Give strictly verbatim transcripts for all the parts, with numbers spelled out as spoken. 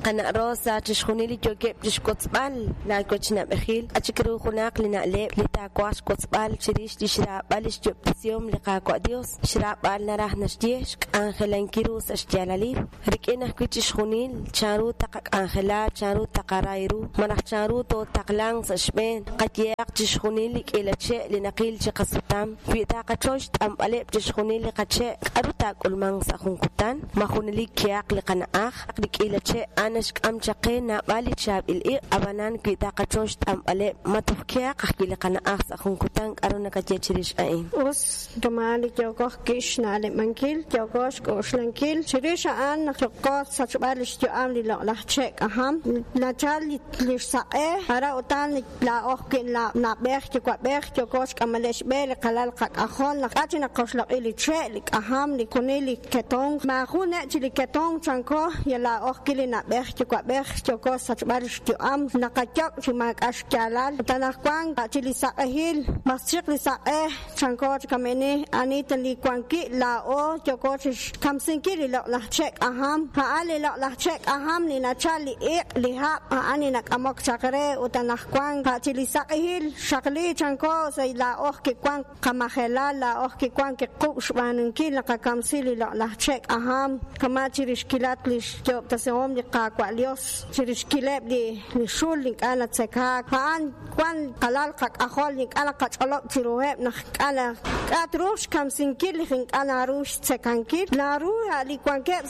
Qana' Rosa, chixjunil li yookeb' chixwotzb'al laawech na'b'ejil, k'a' chik ru junaq li na'leb' li taawaj xwotzb'al chirix li xraab'al li xyob'tesihom li Qaawa' Dios. Xraab'al naraj naxye xk'anjelankil ru sa' xyaalalil. Rik'in ajwi' chixjunil chanru taqak'anjela, chanru taqaray ru, malaj chanru tootaqlanq sa' xb'een, qayehaq chixjunil li k'iila che' li naqil chi qasutam. Wi taqachoy xt'anb'aleb' chixjunil li qache', k'aru taak'ulmanq sa' jun kutan? Ma junelik kehaq li qana'aj? Li k'iila che' a'an naxk'am chaq qe naab'al li chaab'il iq', ab'anan wi taqachoy xt'anb'aleb', ma toj kehaq ajwi' li qana'aj sa' jun kutan? K'aru nakaye chirix a'in? Us kama li yooko xna'leb'ankil, yooko xk'oxlankil chirix a'an naq yooko sachb'al li xyu'am li loq'laj che' k'ajam nachal li xsaq'e ara utan laa'oj wi' na'b'ej yuwa'b'ej yooko xk'amaleb' xb'e li qalal qak'ajol naq k'a' chi naqoxloq'i li che' li k'ajam li kunil li ketonq maajun ne' chi li ketonq chanko ya laa'oj ki li na'b'ej yuwa'b'ej yooko sachb'al li xyu'am naqayok' chi maak'a' xyaalal utan ajwan chi li saq'ehil maschiq li saq'e chanko chi kamini anita li wanki laa'o yooko chi xkamsinkil li loq'laj che' k'ajam a'an li loq'laj che' k'ajam li nachal li iq' li hab' a'an li nak'amok chaq re utan ajwan chi li saq'ehil xaqli chanko sa' laa'oj kiwan qamajelal laa'oj kiwan kiqub' xb'aanunkil naqakamsi li loq'laj che' k'ajam kama chirixkilat li xyob'tesihom li Qaawa' Dios chirixkileb' li li xul ink'a' natzekaak a'an wan qalal qak'ajol ink'a' naqach'olob' chiruheb' naq k'a' k'a' truuq xkamsinkil li ink'a' naru xtzekankil naru li wankeb'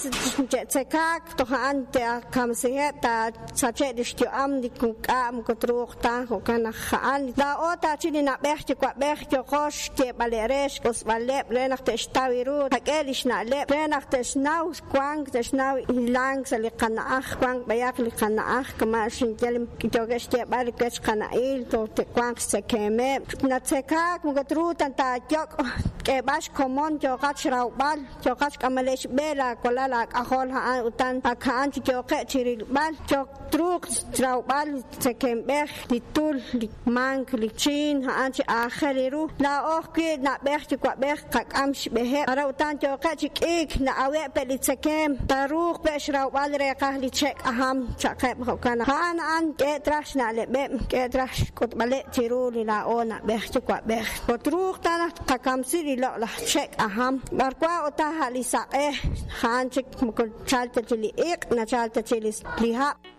che'tzekaak toj a'an te'kamsiheb' taasache' li xyu'am li k'a' moko truuq ta jo'kan naq a'an laa'o taachi li na'b'ej yuwa'b'ej yooko xyeeb'aleb' re xk'osb'aleb' re naq te'xtaw ru qak'e li xna'leb' re naq te'xnaw wank te'xnaw hilank sa' li qana'aj wank b'ayaq li qana'aj kama xinyal yookeb' xyeeb'al li wech qana'il toj te'wanq xtzekemeb' natzekaak moko truuq tan taayok' k'eeb'al xkomon yooqat xrawb'al yooqat xk'amaleb' xb'e laawalal laak'ajol a'an utan ak a'an chi yooqeb' chirilb'al yook truuq xrawb'al tzekemb'ej li tul li mank li chiin a'an chi aajel ru laa'oj wi' na'b'ej yuwa'b'ej qak'am xb'eheb' ara utan yooqeb' chi k'iik na'aweb' pe' li tzekem taruuq pe' xrawb'al reeqaj li che' k'ajam chaqeb' jo'kan a'an a'an k'e traj xna'leb'eb' k'e traj xk'utb'aleb' chiru li laa'o na'b'ej yuwa'b'ej otruuq ta naq qakamsi li loq'laj che' k'ajam b'arwa utan ha' li saq'e a'an chik moko chalta chi li iq' nachalta chi li hab'.